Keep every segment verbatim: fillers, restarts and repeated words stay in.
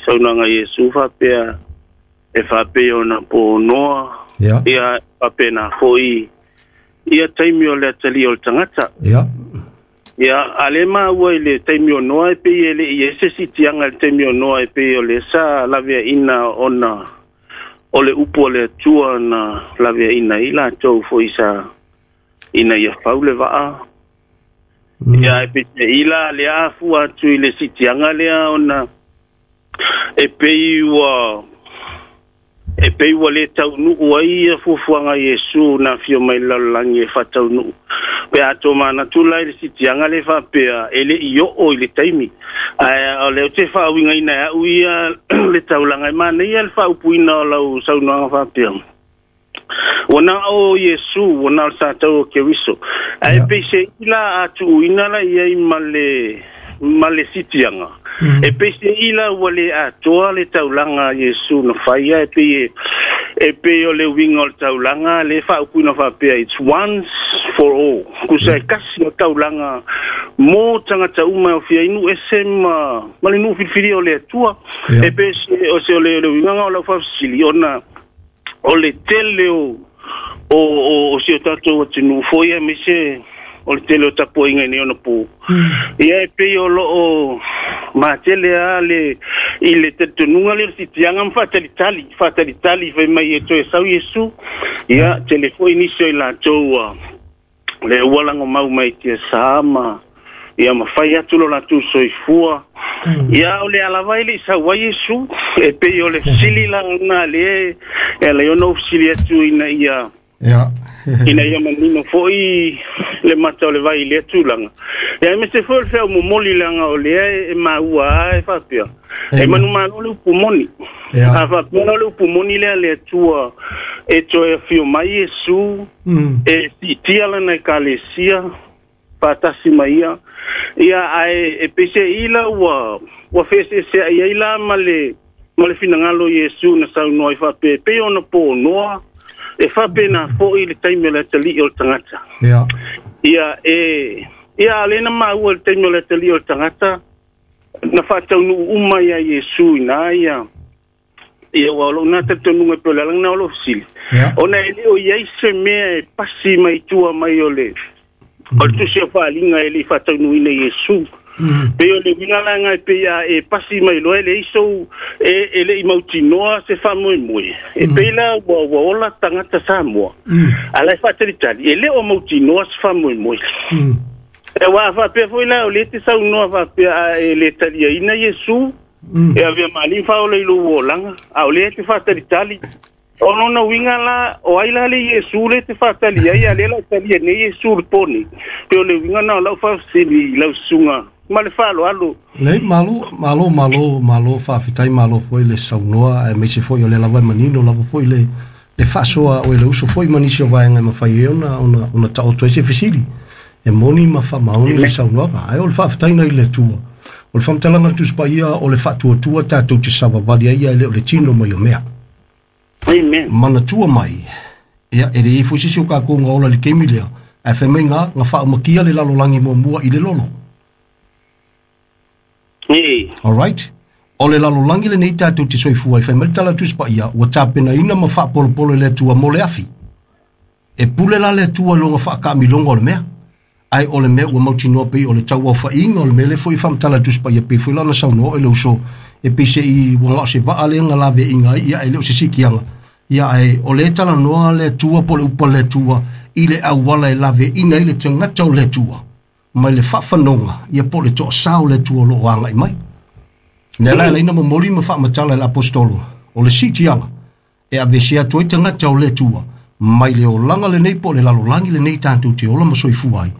Saunoaga a Iesu faapea e faapei ona po Noa. Ia. Ia faapena foi ia taimi o le atalii o le tagata. Ia. Ia, a le maua i le taimi o Noa e pei e le i ai se sitiaga i le taimi o Noa e pei o le sa laveaina ona o le upu a le Atua na laveaina ai latou foi sa ina ia fau le vaa. Mm. Ia, e peiseai la le afua atu i le sitiaga lea ona e pei ua e pei ua le taunuu ai ia fuafuaga a Iesu na afio mai le lalolagi e faataunuu. Pe a tomanatu la i le sitiaga le faapea e le i oo i le taimi. Ae o lea ou te faauigaina e au ia le taulaga e manaia le faaupuina o lau saunoaga faapea. Ua na o Iesu, ua na o le satau o Keriso. Ae Ia. peiseai la a tuuina la i ai ma le, ma le sitiaga. Mm. E peiseai la ua le atoa le taulaga a Iesu na faia e pei e, e pei o le uiga o le taulaga le faaupuina faapea it's once for all. Kusa e kasi o taulaga mo tagata uma e ofia ai nuu ese ma, ma le nuu filifilia o le Atua. Ia. E pei se o se o le, le uigaga o lau faafesili ona o le tele o o o, o si o tatou atunuu foi aemaise o le tele o tapuaiga i nei ona po. Ia e pei o loo matele a le i le talitonuga lea o le sitiaga ma faatalitali, faatalitali fai mai e toe sau Iesu. Ia tele foi nisi o i latou ua le ua lagomau mai tiasa ma ia ma fai atu lo latou soifua. Ia o le alava e le i sau ai Iesu e pei o le fesili la na le e ala ai ona ou fesili atu ina ia Ia. ina ia manino foi le mata o le vai i lea tulaga. Ia aemaise foi o le feau momoli leaga o lea e maua a e faapea. E Amen. manumalo le upu moni. Ia. A faapea la o le upu moni lea a le Atua e toe afio mai Iesu Mm. e siitia lana ekalesia faatasi ma ia. Ia ae e peiseai la ua ua feeseeseai ai la ma le ma le finagalo o Iesu na saunoa ai faapea e pei ona po o Noa e faapena foi le taimi o le atalii o le tagata. Ia. Ia e ia a le na maua i le taimi o le atalii o le tagata na faataunuu uma ia Iesu ina ia ia ua o lou na talitonuga e pei o le alaga na o lou fesili. Ia. Ona e le o i ai se mea e pasi mai tua mai o le o le tusi o faaliga e le i faataunuuina i Iesu. Mm. Pei o le uiga la nga e pei a e pasi mai loa e leai sou e, e le i mautinoa se faamoemoe. E pei la ua, ua ola tagata Samoa. Mm. A la e faatalitali, e le o mautinoa se faamoemoe. Mm. E ua faapea foi la o le te saunoa faapea a e le taliaina Iesu, Mm. e avea maalimu faaola i lou olaga, a o lea te faatalitali. O lona uiga la, o ai la le Iesu le te faatali ai, a lea la o talia nei Iesu le po nei. Pe o le uiga na o lau faafesili i lau susuga ma le faaaloalo. Lei, malo, malo, malo, malo, faafetai malo foi le saunoa, aemaise foi o le lava e manino lava foi le le faasoa o le uso foi ma nisi o vaega e mafai ai ona ona ona taoto ai se fesili. E moni ma faamaoni le saunoaga, ae o le faafetaina i le Atua. O le faamatalaga a le Tusi Paia o le faatuatua tatou te savavali ai ia e le o le tino mai o mea. Amen. Manatua mai, ia e le i foi se isi o kākou ga ola i le taimi lea, ae fai mai ga, ga faaumakia le lalolagi muamua i le lolo. Ee. Alright? O le lalolagi lenei tatou te soifua ai, fai mai le tala a le Tusi Paia, ua tapenaina ma faapolopolo e le Atua mo le afi. E pule la le Atua i lona faakaamiloga o le mea. Ae o le mea ua mautinoa pei o le tauaofaiga o le mea lea foi e faamatala a le Tusi Paia pei foi la ona saunoa oe le uso e pei se'i ua gao se vaa lea na laveaiga ai ia e le o se sikiaga. Ia ae o le talanoa le Atua po o le upu a le Atua i le auala e laveaina ai le tagata o le Atua mai le faafanoga ia po o le toasā o le Atua o loo agai mai. Lea la e ala ai ona momoli ma faamatala e le apostolo o le siitiaga e aveese atu ai tagata o le Atua mai le olaga lenei po o le lalolagi lenei tatou te ola ma soifua ai.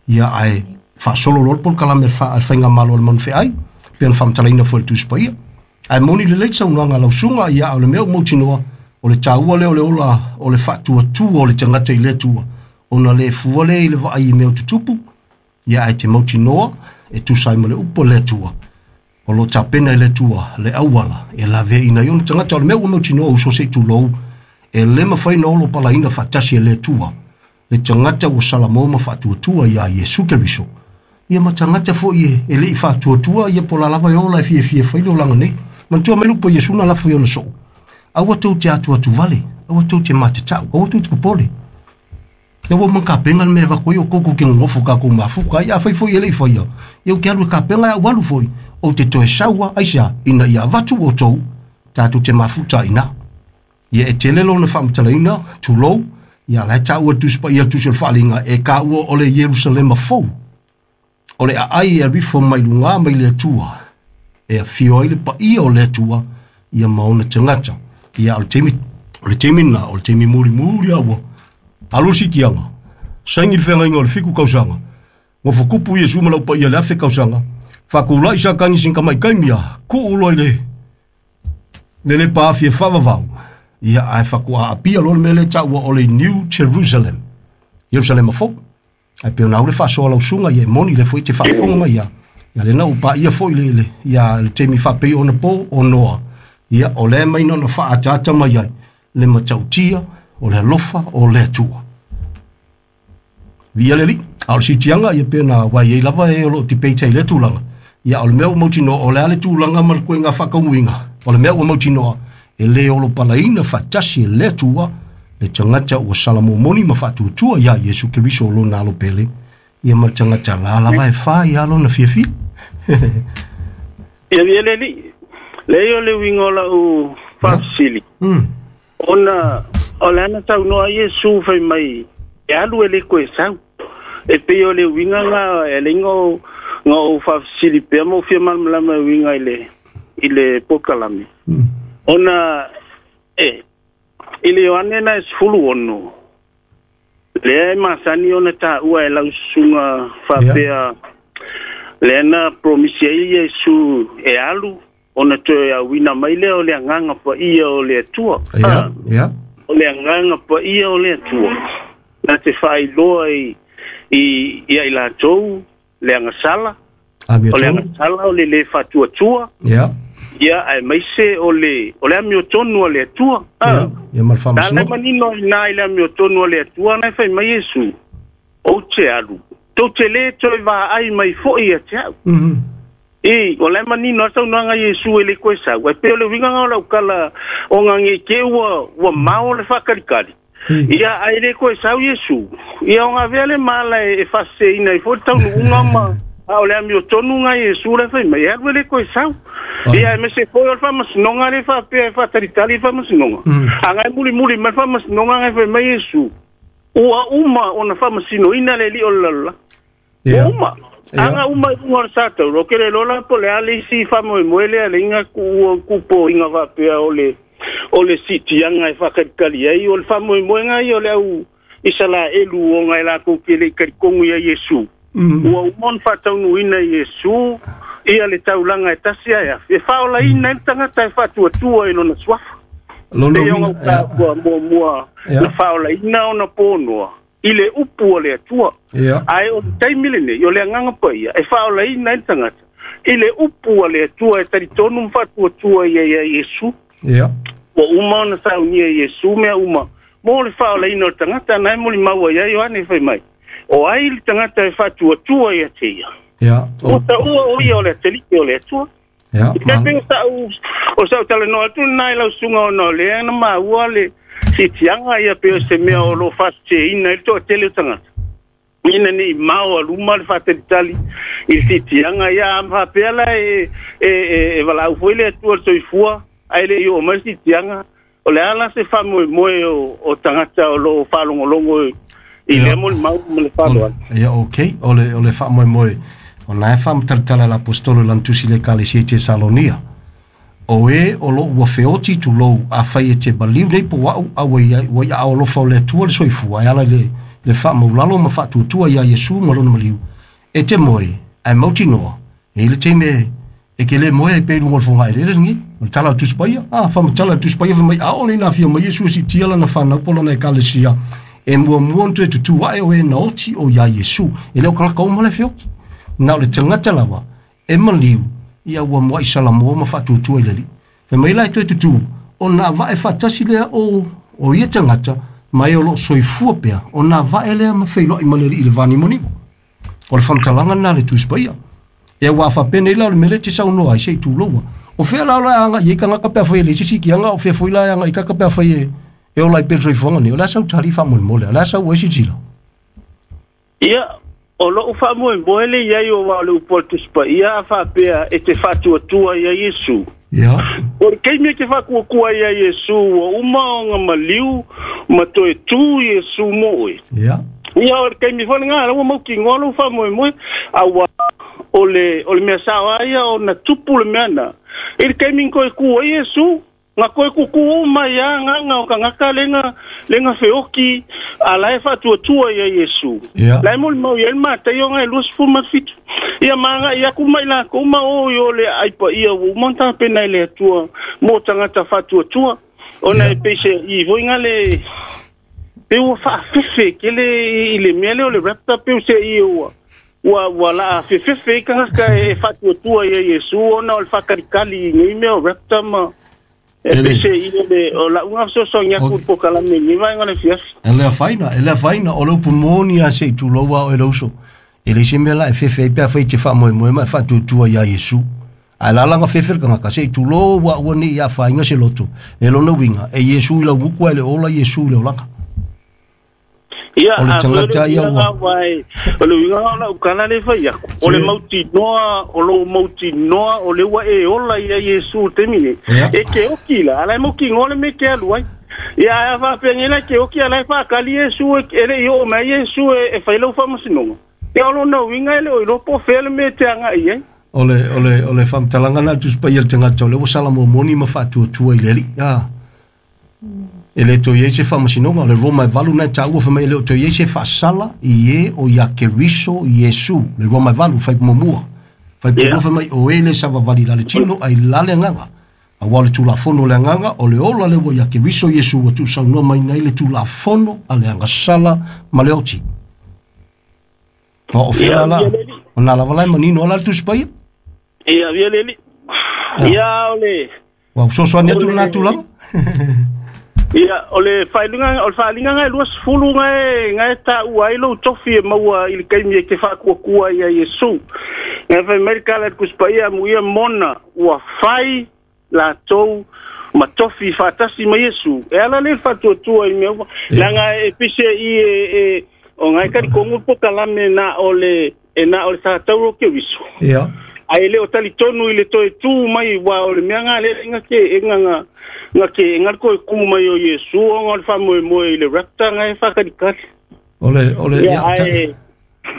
Ia ae faasolo loa le polokalame a le fa- a le faigamalo a le manufeai pe ona faamatalaina foi e le Tusi Paia. Ae moni lelei le saunoaga a lau susuga ia a o le mea ua mautinoa o le taua lea o le ola o le faatuatua o le tagata i le Atua ona le fua lea i le vaai i mea o tutupu ia ae te mautinoa e tusa ai ma le upu a le Atua. O lo tapena i le Atua le auala e laveaina ai ona tagata o le mea ua mautinoa uso se i tulou e le mafai ona olo palaina faatasi e le Atua le tagata ua salamo ma faatuatua iā Iesu Keriso. Ia ma tagata foi e, e le i faatuatua ia po o la lava e ola e fiafia fai le olaga nei. Manatua mai le upu a Iesu na lafo i ona soo, aua tou te atuatu vale, aua tou te matatau, aua tou te popole. Ia ua uma ona tapena le mea e avatu ai outou tou te nonofo tatou mafuta ai. Afai foi e le i faia, ia ou te alu e tapena ae ou alu foi, ou te toe sau lava, aisea? Ina ia avatu outou tatou te mafuta ai i ina. Ia e tele lona faamatalaina, tulou, ia la e taua e le Tusi Paia le Tusi o le Faaaliga, e taua o le Ierusalema fou, o le aai e alu ifo mai luga mai le Atua, e afio ai le paia o le Atua ia ma ona tagata. Ia o le taimi, o le taimi lena, o le taimi mulimuli lava ua alu le siitiaga, saini le feagaiga o le fitu tausaga, nofo tupu Iesu ma lau paia i le afe tausaga, faatulai Satani sina tamai taimi a tuu loa i le le lepa afi e faavavau, ia ae faatoa aapia loa le mea lea e taua o le New Jerusalem, Ierusalema fou. Ae pei ona au le faasoa lau susuga, ia e moni lea foi e te faafofoga mai ia, ia lena ua paia foi le, le, ia le taimi faapei ona po o Noa, ia o lea mai na ona faaataata mai ai le matautia o le alofa o le Atua. Viia le Alii. A o le siitiaga, ia pei ona ua i ai lava e o lo o debate ai i lea tulaga. Ia o le mea ua mautinoa, o le a le tulaga ma le koiga faataunuuina, o le mea ua mautinoa, e le olopalaina faatasi e le Atua le tagata ua salamomoni ma faatuatua ia Iesu Keriso o lona alo pele, ia ma le tagata la lava e fai lava lona fiafia. Ia viia le Alii. Leai o le uiga o lau faafesili, ona o le ana saunoa Iesu fai mai e alu e le toe sau. E pei o le uiga na e alai ona ou faafesili pea ma ou fia malamalama e uiga i le i le polokalame. Ona e i le Ioane na e sefulu ono, lea e masani ona taua e lau susuga faapea lea na promisi ai Iesu e alu ona toe auina mai lea o le agaga paia o le Atua. Ia, ia. O le agaga paia o le Atua na te faailoa i i ia i latou le agasala, o le agasala o le le faatuatua. Ia. Ia, aemaise o le o le amiotonu a le Atua. Ia, ia ma le faamasinoga. Na le manino i ina i le amiotonu a le Atua, na e fai mai Iesu, ou te alu, tou te le toe vaai mai foi ia te au. I, o la e manino lava saunoaga a Iesu e le toe sau. Ae pei o le uiga lena o lau tala, ona ne i te i ua, ua mao le faatalikali. Ia, ae le toe sau Iesu, ia ona avea le mala e faaseseina ai foi le taunuuga ma, a o le amiotonu lena a Iesu la e fai mai, e alu e le toe sau. Ia, aemaise foi o le faamasinoga lea e faapea e faatalitali le faamasinoga. A na e mulimuli mai le faamasinoga na e fai mai Iesu, ua uma ona faamasinoina le alii o le lalolagi. Ua uma. A na uma i luga o le satauro, ou te le iloa la po o le a le isi faamoemoe lea e alai na tuua tupoina faapea o le o le siitiaga e faatalitali ai, o le faamoemoega ia o le au Isalaelu ona e latou te le i talitonu ia Iesu. Ua uma ona faataunuuina e Iesu ia le taulaga e tasi ae afe, e faaolaina ai le tagata e faatuatua i lona suafa. Lona Pei ona uiga, ou taua muamua na faaolaina ona ponoa i le upu a le Atua. Ae o le taimi lenei, o le Agaga Paia e faaolaina ai le tagata i le upu a le Atua e talitonu ma faatuatua i ai ia Iesu. Ua uma ona saunia e Iesu mea uma mo le faaolaina o le tagata, na e molimau ai ia Ioane fai mai, o ai le tagata e faatuatua ia te ia? Ua taua o ia o le atalii o le Atua. E pei o sa'u o sa'u talanoa atu lena i lau susuga ona o lea na maua le siitiaga ia pei o se mea o lo o faaseseina ai le toatele o tagata ina ne i mao a luma le faatalitali i le siitiaga ia a faapea la e e e valaau foi le Atua i le soifua ae le i oo mai le siitiaga. O le a la se faamoemoe o o tagata o lo o faalogologo i lea molimau ma le faaaloalo? Ia, okay, o le o le faamoemoe o na e faamatalatala e le aposetolo i lana tusi i le Ekalesia i Tesalonia, O e o lo o ua feoti tulou, afai e te maliu nei po o a'u, a ua i ai, ua i aao alofa o le Atua le soifua, e ala i le, le faamaulalo ma faatuatua iā Iesu ma lona maliu, e te moe, ae mautinoa, e i ai le taimi e, e ke le moe ai pea i luga o le fogaeleele lenei. O le tala a le Tusi Paia, a, faamatala e le Tusi Paia fai mai, ʻAʻole inā afio mai Iesu e siitia lana fanau po o lana Ekalesia, e muamua ona toe tutū aʻe o e na oti o iā Iesu. E le o kanaka uma la e feoti. Na o le tagata lava e maliu, ia ua muaʻi salamoa ma faatuatua i le Alii. Fai mai la e toe tutū, ona avae faatasi lea o, o ia tagata ma e o lo o soifua pea, ona avae lea ma feiloai ma le Alii i le vanimonimo. O le faamatalaga lena a le Tusi Paia. Ia, aua a faapea nei la o le mea lea e te saunoa ai, se i tuloua. O fea la ola anga i kanga ka pea fai le sisi ki anga o fea foi la anga i ka pea fai e e ola i pere soifuaga nei o le a sau tali faamolemole o le a sau ai silasila. Ia o lou faamoemoe le iai o wa o le upu o le Tusi Paia a faapea e te faatuatua ia Iesu. Ia. O le kaimi e te faatuatua ia Iesu ua uma ona maliu ma toe tu Iesu mo oe. Ia. Ia o le kaimi foi lena ua mautinoa lou faamoemoe aua o le o le mea sao a ia ona tupu le mea na. I le kaimi na toe ku ai Iesu nga koe kuku uma ia nganga o kangaka lenga lenga feoki ala e faatuatua ia Iesu. Yeah. La e molimau ia le mataio nga e luasefulu ma le fitu. Ia maga ia ku mai lakou ma o i o le aipa ia ua uma ona tapena i le Atua mo tagata faatuatua. Ona Yeah. e peise i foi nga le pe ua faafefe kele i le mea lea o le raptor pe se i ua ua ua la fefefe i kangaka e faatuatua ia Iesu ona o le faakalikali i nei mea o raptor ma e Ele. pese i le o la unga fesoasoani aku i pokalame nei vaega le fiafi. E le afaina, e le afaina, o le upu moni a se i tulou a o e lauso. E le se mea la e fefe ai pea fai te faamoemoe ma e faatuatua ia Iesu. Ae lalaga fefe le kangaka, se i tulou a ua nei ia whainga se loto. E lona uiga, e Iesu i lau muku ai le ola Iesu i le olaga. Ia O le a tagata ia ua. vai o le uiga o lau kala le fai aku. O le Se- mautinoa, o lou mautinoa, o le ua e ola ia Iesu te mine. Ia. E ke oki la, ala e mautinoa le me ke alu ai. Ia a faapea la ke oki ala e whaakali Iesu e e le i o mai Iesu e e whai lau whaamasinoga. Ia o lona uiga e le o iloa po o fea le mea e te anga i ai. O le, o le, o le whamtalanga na Tusi Paia le tagata o le ua sala momoni ma faatuatua i le Alii. Ah. E le toe iai se faamasinoga, o le Roma e valu na taua fai mai e le o toe iai se faasala i e o ia Keriso Iesu. Le Roma e valu fai muamua. Fai Ia. pulua fai mai o e le savavali la le tino ai la le agaga. Aua o le Tulafono o le agaga o le ola le ua ia Keriso Iesu ua tuusaunoa mai nei le Tulafono a le agasala ma le oti. O o fea Ia, la la. ia le O nā lava lai manino ala le Tusi Paia. Ia, ia le li. Ia o le Ua fesoasoani atu O le- lena tulaga. Ia, o le faailuga o le faaliga ngai lua sefulu ngai ngai taua ai lou tofi e maua i le kaimi e te faakuakua ia Iesu. Ngai fai mai le kala le Tusi Paia amuia mona ua fai latou ma tofi faatasi ma Iesu. E ala le faatuatua i mea uma. Leaga e pise i e e o ngai talikongu pokalame na o le e na o le satauro ke wiso. Ia. Ai le o talitonu i le toe tū mai wa o le mea ngā le nga ke e nga nga nga ke nga ko ku mai o Iesu o nga le faamoemoe i le raptor nga e whakalikali. O le, o le, Ia ia, ta- ai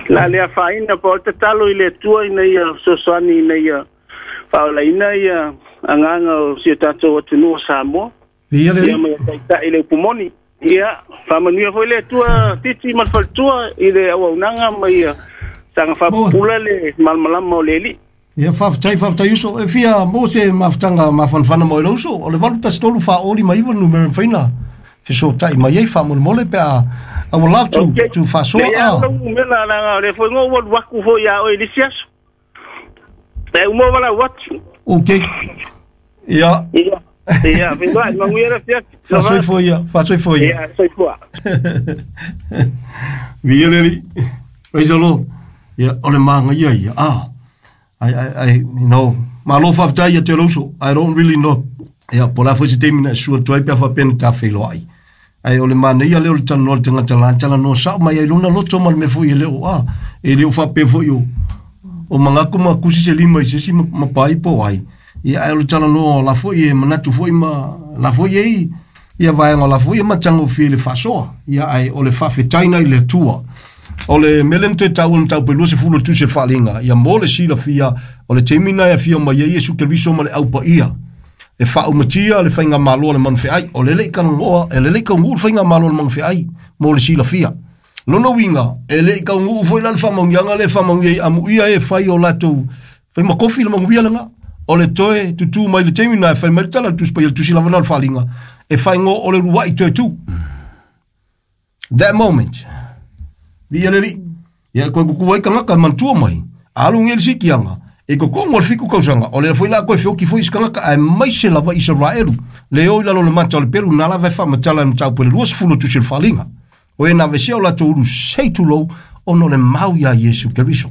la le afaina pa o le tatalo i le Atua ina ia fesoasoani ina ia faaolaina ia agaga o si o tatou atunuu o Samoa. Ia le Ia li. ma ia taitai le upu moni. Ia faamanuia foi le Atua titi ma le faletua i le auaunaga ma ia saga faapupula le malamalama o le Alii. Ia faafetai faafetai uso. E fia mo se mafutaga mafanafana mo i le uso. O le valu tasi tolu faaoli ma iva numera e mafai ona fesoota'i mai ai faamolemole pe a I would love to Okay. to faasoa. Le ia Ah. o umela la le foi ngo wa waku fo ia o i le siaso. E umo wala watu. Okay. Ia Ia. Ia, fe vai manguia la fiasi. faasoifua ia, faasoifua ia. Ia, soifua. Viia le Alii. Praise the Lord. Ia o le magaia ia. Ah. I I I you know, malo faafetai ia te le uso. I don't really know. Ia po o le a foi se taimi na e sua atu ai pe a faapea na tafeiloai. Ai o le manaia lea o le talanoa le tagata la talanoa sao mai ai lona loto ma le mea foi e le o a. E le o faapea foi o o magaku ma kusi se lima i se isi ma, ma pai po ai. Ia ai o le talanoa la foi e manatu foi ma la foi e i ia vaega la foi e matagofie le faasoa. Ia ai o le faafetaina i le Atua. O le mea lea na toe taua na tau pe lua sefulu o le tusi o le faaliga. Ia mo le silafia o le taimi na e afio mai ai Iesu Keriso ma le aupaia. E faaumatia le faigamalo a le manufeai. O le lei kalagoa, e le lei kauguu le faigamalo a le manufeai mo le silafia. Lona uiga, e lei kauguu foi la le faamaugiaga le faamaugia ai amuia e fai o latou fai makofi le maguia lega. O le toe tutū mai le taimi na e fai mai le tala le Tusi Paia le tusi lava na o le faaliga. E faigo o le lua'i toe tū. That moment. Viia le Alii. Ia koe kuku ai kangaka manatua mai. Alu nge le sikiaga. E kokogo o le fiku kausaga. O le foi la koe feoki foi i se kangaka ae maise lava Isaraelu. Le o i lalo le mata o le pelu na lava e faamatala e mataupu e le lua sefulu o tusi o le faaliga. O e na vesea o latou ulu sei tulou ona o le mau iā Iesu Keriso.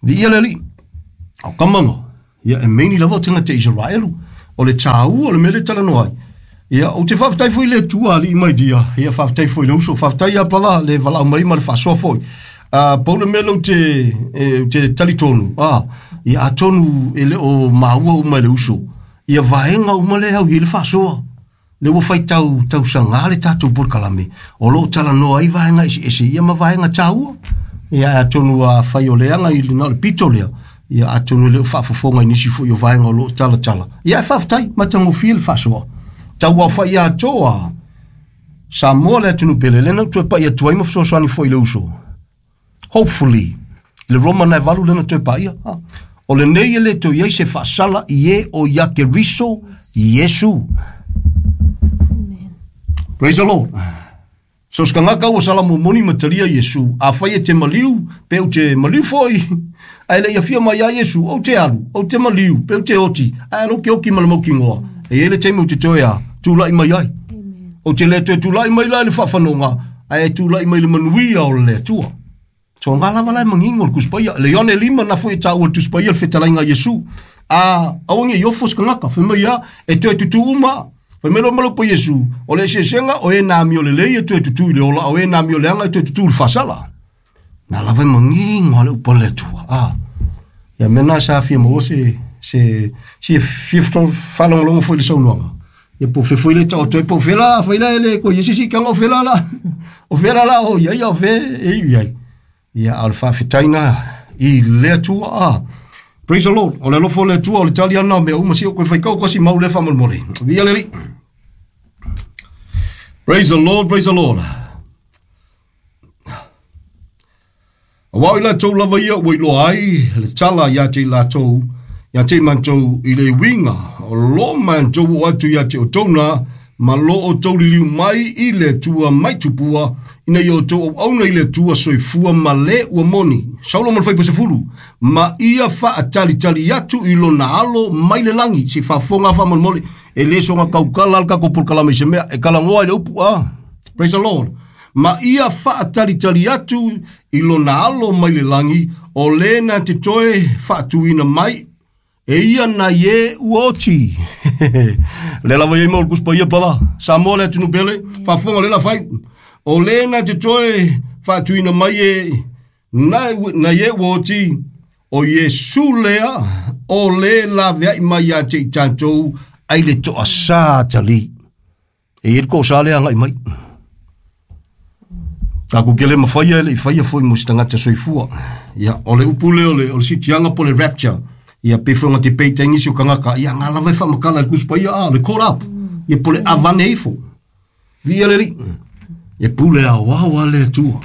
Viia le Alii. O kamaga. Ia e meini lava o tagata Isaraelu. O le tāua o le mea le talanoa ai. Ia, ou te faafetai foi i le Atua alii mai dia. Ia, faafetai foi i le uso. Faafetai ia pala le valaau mai ma le faasoa foi. Uh, pau le mea lou te, e, te talitonu. Ah, ia atonu e le o maua uma i le uso. Ia vaega uma le au i le faasoa. Le ua faitau tausaga le tatou polokalame. O loo talanoa ai vaega eseese ia ma vaega tāua. Ia atonu a fai o leaga i na o le pito lea. Ia atonu le o faafofoga i nisi foi o vaega o loo talatala. Ia e faafetai matagofie le faasoa. Tau au fai atoa. Samoa le atunuu pele lena ua toe pai atu ai ma fesoasoani foi i le uso. Hopefully, le Roma na e valu lena toe paia. Ha. O lenei e le toe i ai se faasala i e o ia Keriso Iesu. Praise the Lord. So se kangaka ua sala momoni ma talia Iesu, a fai e te maliu, pe ou te maliu foi. Ae le ia fia mai ia Iesu, ou te alu, ou te maliu, pe ou te oti, ae alo ke oki ma le maukingoa. E i le taimi ou te toe a, tūlai mai ai. Ou te le toe tūlai mai la i le whaawhanonga, ae tūlai mai le manuia o le Atua. So ngā lava lai mangingo le kuspaia. Le Ione lima na foi e tāua le tuspaia le fetalaiga Iesu. A awangi i ofo skangaka, whai mai ia, e toe tutu uma. Whai mai lo malo po Iesu, o le eseesenga o e nā mio le lei e toe tutu i le ola, o e nā mio le anga e toe tutu i le whasala. Nā lava e mangingo le upa le Atua. Ah, ia mena sa fia maua se, se, se fia whalongolongo foi le saunoaga. Ia po fe foi le tau toe po fela, foi la ele ko Iesu si kanga o fela la. O fela la o ia ia o fe e i ai. Ia al whawhitaina i le Atua. Ah. Praise the Lord. O le alofa o le Atua o le tali ana mea uma si o koe whaikau kasi mau le whamolemole. Via leli. Praise the Lord, praise the Lord. A wau i latou lava ia ua iloa ai le tala ia te i latou, ia te i mantou i le winga. O lo mantou o atu ia te o tōna, ma lo o tau liliu mai i le Atua mai tupua, ina ia o tau auauna i le Atua soifua ma le ua moni. Saulo ma le whaipa sefulu, ma ia whaatalitali atu i lona alo mai le langi, se whaafonga whamolemole, e le songa kaukala al kako polokalame i se mea, e kalangoa i le upu, ah. Praise the Lord. Ma ia whaatalitali atu i lona alo mai le langi, o le na te toe whaatuina mai, e ia na ye uoti. Le lava ia mau kuspa ia pala. Samoa le atunu pele, whaafonga le la whai. O le na te toe whaatuina mai e na, na ye uoti, o Iesu lea, o le la veai mai a te i tātou, ai le toa sā tali. E ia ko sa lea ngai mai. Tāku kele mawhaia ele i whaia foi mo si tangata soifua. Ia, o le upu leo le, o le sitianga po le rapture. Ia pe whainga te pei taingisi o kangaka. Ia ngā lava e whamakala le kuspa ia, ah, le caught up. Ia po le avane ifo. Via le ri. Ia pule a wau a le Atua.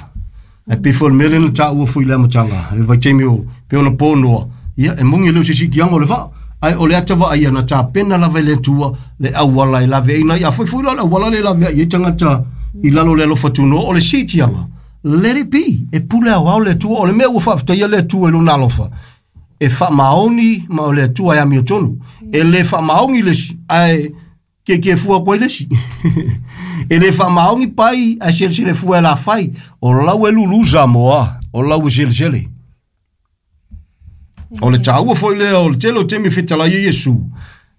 E pe whainga mele na tāua fui le amatanga. Le vai teimi o pe ona pōnoa. Ia e mungi leo se sikianga o le wha. Ai o le atawa ai ana tā pena lava i le Atua. Le awala i lave ina. Ia fui fui la le awala le lave ai. Ia tangata i lalo le alofa tunoa o le sitianga. Let it be. E pule au au le Atua. O le mea ua whaafetaia le Atua i lona alofa. E whaamaoni ma o le Atua e amio tonu. E le whaamaongi le si, ai ke ke fua koe le si. E le whaamaongi pai, ai sele sele fua e la whai. O lau e lulu Samoa, o lau e sele sele. O le tāua foi lea, o le tele o temi fetalai e Iesu.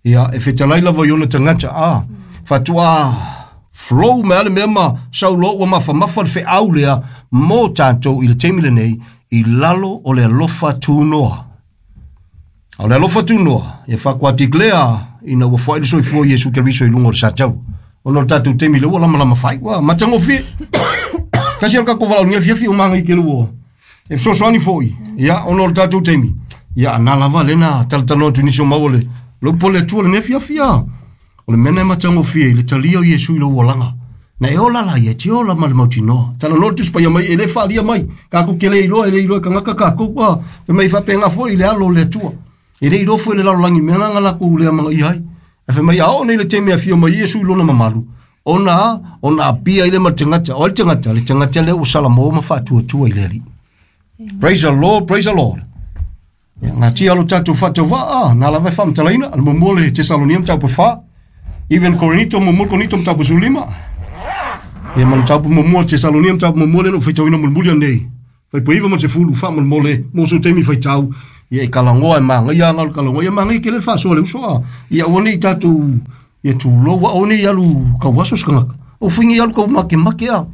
Ia, e fetalai lava i ona tangata, ah. Whatua flow me ale mea ma saulo ua mawhamafa le wheau lea mō tātou i le temi lenei i lalo o le alofa tūnoa. O le alofa tūnoa, ia whakuatik lea ina ua whai le soifua Iesu Keriso i lunga o le sātau. Ona o le tātou temi le ua lama lama whai, ua matangofie. Kasi al kako walau ngia fiafi o manga i ke lua. E fesoasoani foi, ia ona o le tātou temi. Ia nā lava lena talatanoa tunisi o mau o le lopo le Atua le nea fiafia. O le mena e matangofie i le talia o Iesu i le ualanga. Na e ola la ia, te ola ma le mautinoa. Talanoa le tusipaia mai, e le whaalia mai. Kākou ke le iloa, e le iloa kangaka kākou. Ah, fe mai whapenga foi i le alo o le Atua. E le iloa foi le lalolagi mea nganga lakou le amanga i ai. E fe mai a o nei le temi a fia mai Iesu i lona mamalu. Ona, ona apia i le ma le tangata. O le tangata, le tangata le o salamo ma whaatuatua i le ali. Praise the Lord, praise the Lord. Ia, ngā tia alo tātou whātau wā, ah, nā lava e whamatalaina, le muamua le Tesalonia mataupu whā. Even Korinito, muamua Korinito mataupu sulima. Ia ma le mataupu muamua Tesalonia mataupu muamua le no whaitauina mulimuli anei. Whaipoiva ma se fulu whamolemole, mō so temi whaitau. Ia e kalangoa e magai anga o le kalangoa ia magai ke le faasoa le uso a. Ia aua nei tatou ia tulou aua nei alu kauaso se kagaka. O fuiga alu kau makemake a.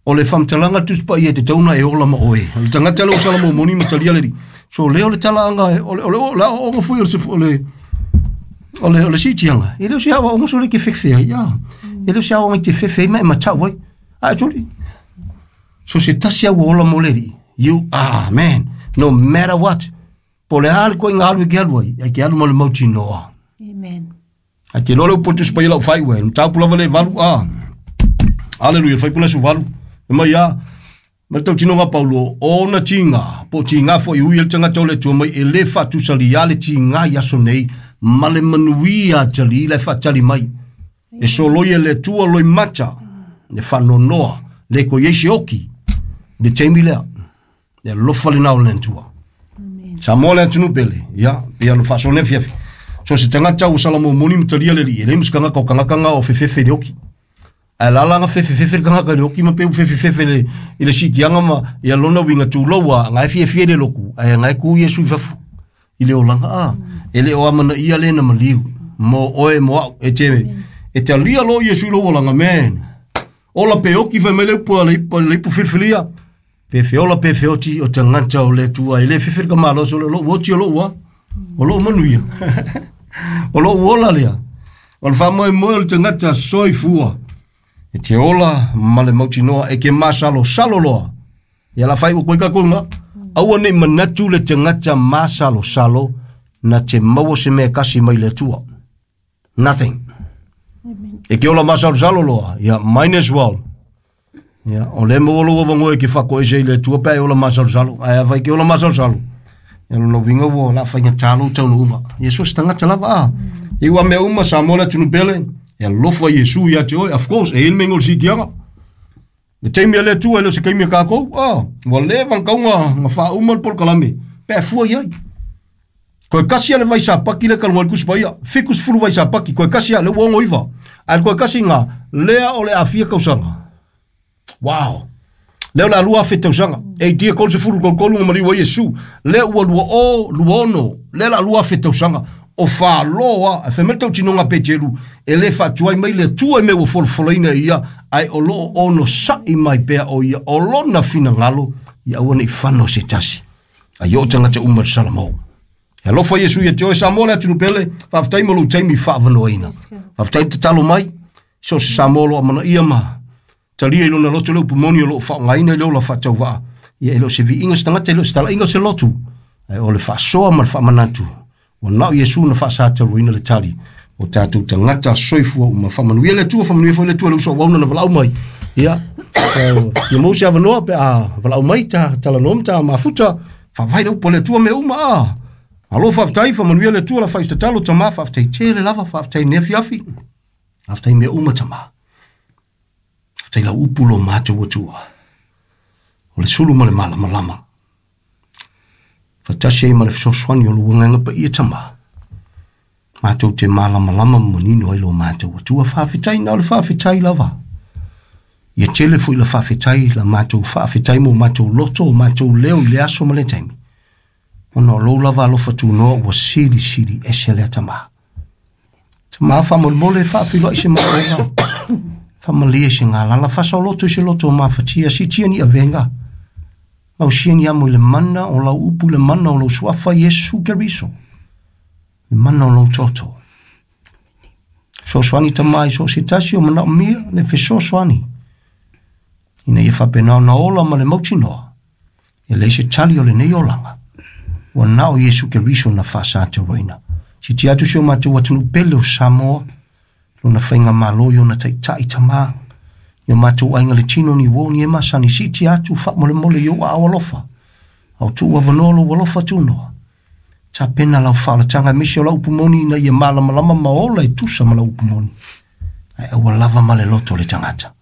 O le faamatalaga le Tusi Paia e tatauna e ola ma oe. O le tagata lea ua salamomoni ma talia le alii. So lea o le talaaga o le o le o le aoaoga foi o le o le o le o le siitiaga. E le o se aoaoga so le ke fefe ai a. E le o se aoaoga i te fefe ai ma e matau ai. A e tuli. So se tasi au ola mo le alii. You are man. No matter what. Po le a le koiga alu e ke alu ai. Ai ke alu ma le mautinoa. Amen. Ai te loa le upu o le Tusi Paia lau fai ue. Mataupu lava le valu a. Aleluia, fai puna su valu. E mai a, ma le tautinoga Paulo, ona tiga, po o tiga foi ui e le tagata o le Atua mai, e le faatusalia le tiga i aso nei, ma le manuia atalii la e faatali mai. E soloi e le Atua loi mata, le faanoanoa, le ko iai se oki, le taimi lea, le alofa lena o le Atua. Samoa le atunuu pele, ia, pei ona faasoa nei afiafi. So se tagata ua salamomoni ma talia le alii, e leai ma se tagata o kagaka ga o fefefe i le oki. Ae lala ga fefefefe le tagata i le oki ma pe ua fefefefe le, i le siitiaga ma ia lona uiga tulou a, ga e fiafia i le loku, ae ga e ku Iesu i fafo i le olaga a. E le o amanaia le na maliu mo oe mo au e te, e talia lo Iesu i lou olaga, man. Ola pe oki fai mai le upu a le ipu, le ipu filifilia. Pe feola pe feoti o tagata o le Atua. E le fefe le kamalosi o le lou oti o lou a. O lou manuia. O lou ola lea. O le faamoemoe o le tagata soifua. E te ola ma le mautinoa e ke masalosalo loa. Ia la fai ua koe kākou ngā. Aua nei manatu le tagata masalosalo na te maua se mea kasi mai le Atua. Nothing. E ke ola masalosalo loa. Ia, mine as well. Ia, o le maua lou avangoe ke whakoese i le Atua pe ai ola masalosalo. Ai a whai ke ola masalosalo. Ia lona uiga ua la whainga lou taunuuga. Ia so se tagata lava a. I ua mea uma Samoa le atunuu pele. E alofa Iesu ia te oe. Of course, e i le mea o le siitiaga. Le taimi a le Atua e le o se kaimi a kākou. Ah, ua leva na kauga nga faauma le polokalame. Pe fua i ai. Koe kasi a le vaisapaki le kalongo i le Tusi Paia. Fitu sefulu vaisapaki. Koe kasi a le ua ono iva. Ae le koe kasi ngā, lea o le afia tausaga. Wow. Lea o le alua afe tausaga. E tia kolu sefulu tolu nga maliu ai Iesu. Lea ua lua o, lua ono. Lea la alua afe tausaga. O whāloa, e whai mai tautinoga Peteru, e le faatuai mai le Atua i mea ua folafolaina e ia, ae o loo ono sa'i mai pea o ia, o lona finagalo, ia aua nei fano se tasi. Ai o tagata uma le salamau. E alofa Iesu ia te oe Samoa le atunuu pele, faafetai mo lou taimi faavanoaina. Faafetai le tatalo mai, so se Samoa lo amanaia ma talia i lona loto le upu moni o loo faaaogaina i le ola faatauvaa. Ia e le o se viiga o se tagata, e le o se talaiga o se lotu. Ae o le faasoa ma le faamanatu. Ua nao Iesu na faasataluaina le tali. O tātou tagata soifua uma. Faamanuia le Atua, faamanuia foi le Atua le uso auauna na valaau mai. Ia, ia maua se avanoa pe a valaau mai ta talanoa ma ta mafuta. Faavae le upu a le Atua mea uma a. Alo faafetai, faamanuia le Atua la faitatalo tamā, faafetai tele lava, faafetai nei afiafi. Faafetai mea uma tamā. Faafetai lau upu lo matou Atua. O le sulu ma le malamalama. Faatasi ai ma le fesoasoani o lou agaga paia tamā. Matou te malamalama ma manino ai lo matou Atua. Faafetai na o le faafetai lava. Ia tele foi la faafetai la matou faafetai mo matou loto, o matou leo i le aso ma le taimi. Ona o lou lava alofa tunoa ua silisili ese lea tamā. Tamā faamolemole faafiloai se manaoga. Faamalie se galala faasaoloto i se loto o mafatia siitia ni avega. Mausia ni amo i le mana o lau upu, le mana o lau suafa Iesu Keriso. Le mana o lau toto. Fesoasoani tamā i so o se tasi o manaomia le fesoasoani. Ina ia faapena ona ola ma le mautinoa. E leai se tali o lenei olaga. Ua nao Iesu Keriso na faasataroina. Siitia atu si o matou atunuu pele o Samoa. Lona faigamālo i ona taitai tamā. I o matou aiga le tino ni uo ni e masani. Siitia atu faamolemole i ou aao alofa. Au tuu avanoa lou alofa tunoa. Tapena lau faaolataga aemaise o lau upu moni ina ia malamalama ma ola e tusa ma lau upu moni. Ae aua lava ma le loto o le tagata.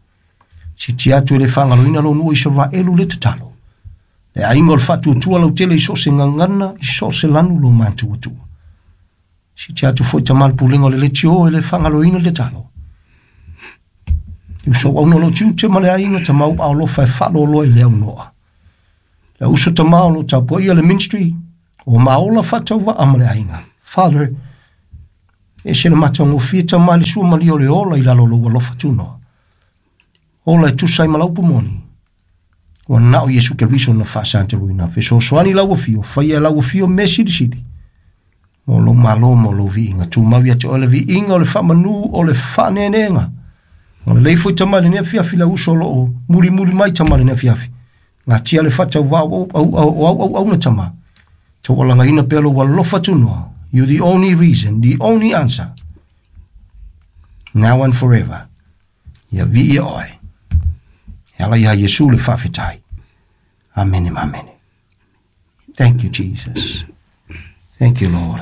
Siitia atu e le faagaloina lou nuu o Isaraelu le tatalo. Le aiga o le faatuatua lautele i so o se gagana, i so o se lanu lo matou Atua. Siitia atu foi tamā le pulega o le leitio e le faagaloina le tatalo. I uso auauna o lou tiute ma le aiga tamā ua alofa e faaloaloa i le aunoa. Le uso tamā o loo tapuaia le ministry, O maola faatauvaa ma le aiga. Father, e se le matagofie tama le sua malia o le ola i lalo o lou alofa tunoa. Ola e tusa ai ma lau moni. Ua nao Iesu Keriso na faasataluina. Fesoasoani lau afio, faia lau afio mea silisili. Mo lou malo ma lou viiga. Tumau ia te oe le viiga o le faamanu o le faaneeneega. O le foi tama i lenei afiafi lau uso o loo mulimuli mai tama i lenei afiafi. Gatia le faatauvaa o au au auauna tama. Taualagaina pea lou alofa tunoa. You the only reason, the only answer. Now and forever. Ia viia oe. E ala ia Iesu le faafetai. Amene ma amene. Thank you, Jesus. Thank you, Lord.